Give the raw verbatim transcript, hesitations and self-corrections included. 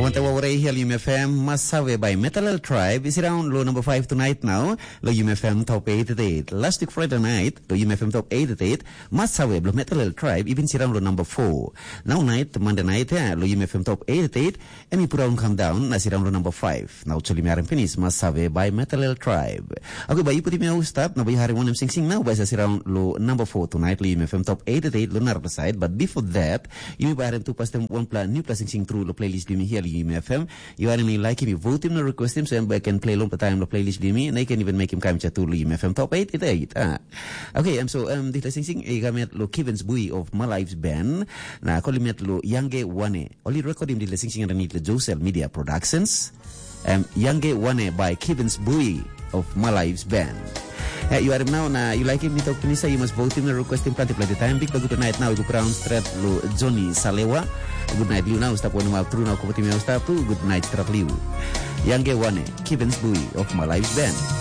Te waware hial Yum F M, Masawe by Metalel Tribe, is around lo number five tonight now, lo Yum F M top eighty-eight. Last week Friday night, lo Yum F M top eighty-eight, Masawe blo Metalel Tribe, even sirang lo number four. Now night, Monday night, eh, lo Yum F M top eighty-eight, emi put on come down, na sirang lo number five. Now chuli miarim finish, Masawe by Metalel Tribe. Okay, ba yu putim yau start, na ba yu harim wanem sing sing now, ba sa sirang lo number four tonight, lo Yum F M top eighty-eight, lo narapla side. But before that, yu ba harim tu pastem one pla, new pla sing sing through lo playlist Yum here, lo Yum F M. Yu are mi like him, yu vote him, no request him, so em bai can play long time lo playlist Yum, and I can even make him come to lo Yum F M top eighty-eight. Ah. Okay, um, so um, this sing sing, I got lo Kivens Bui of My Life's Band, na call him lo Yange Wane. Oli record him di sing sing underneath the Josel Media Productions. Um, Yange Wane by Kivens Bui of My Life's Band. Eh, yu harim nau na yu laikim mi tok pinis, yu mas votim na requestim planti planti taim. Bikpela gutnight nau i go pran stret lo Johnny Salewa. Gutnight liu nau stap wanem ap tru nau kopotim yau stap tu. Gutnight stret liu. Yange Wane, Kivens Bui of My Life's Band.